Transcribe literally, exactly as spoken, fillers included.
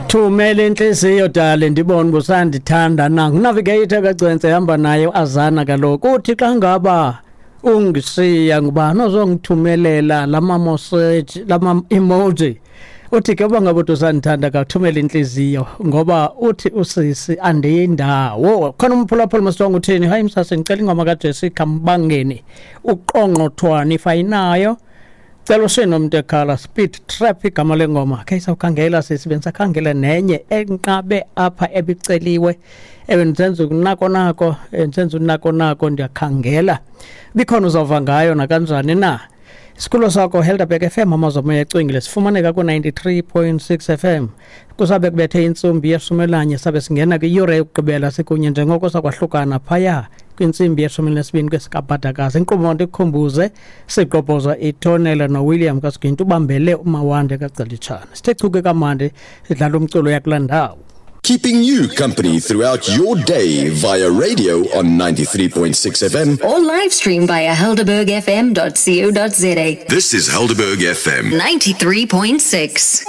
Thumela inhliziyo dali, ndibone busandithanda na. Ngunavigator kaGcwense, hamba naye azana kaloku. Uthi xa ngaba ungisiya, ngubani ozongithumelela lama message, lama emoji? Uthi ke uba ngabe uthi usandithanda, kathumela inhliziyo, ngoba uthi usisi andiyindawo khona. Umphulaphula masonke uthini? Hayi msase, ngicela ingoma kaJessica Mbangeni, uqongqothwane, if ayinayo. Cela usenomuntu ekhala, Speed Trap igama lengoma. Khe sawukhangela sisi, bendisakhangela nenye enqabe apha ebiceliwe. Ewe, ndisenza unako nako, ndisenza unako nako, ndiyakhangela. Bikhona, uzawuva ngayo nakanjani na. Isikulo sakho Helderberg F M, amazwi amoya ecwengile. Sifumaneka ku-ninety-three point six F M. Kusabe kubethe intsimbi yeshumi elanye, sabe singena kwiyure yokugqibela sikunye, njengoko sakwahlukana phaya kwintsimbi yeshumi elinesibini kwesikabhadakazi. Inkqubo, ndikukhumbuze, sigqobhoza itonela noWilliam kaSiginti, ubambele uMawande kaGcelitshana. Sithe chuke kamandi, sidlala umculo yakulaa ndawo. Keeping you company throughout your day via radio on ninety-three point six F M. Or live stream via helderberg F M dot co dot za. This is Helderberg F M. ninety-three point six.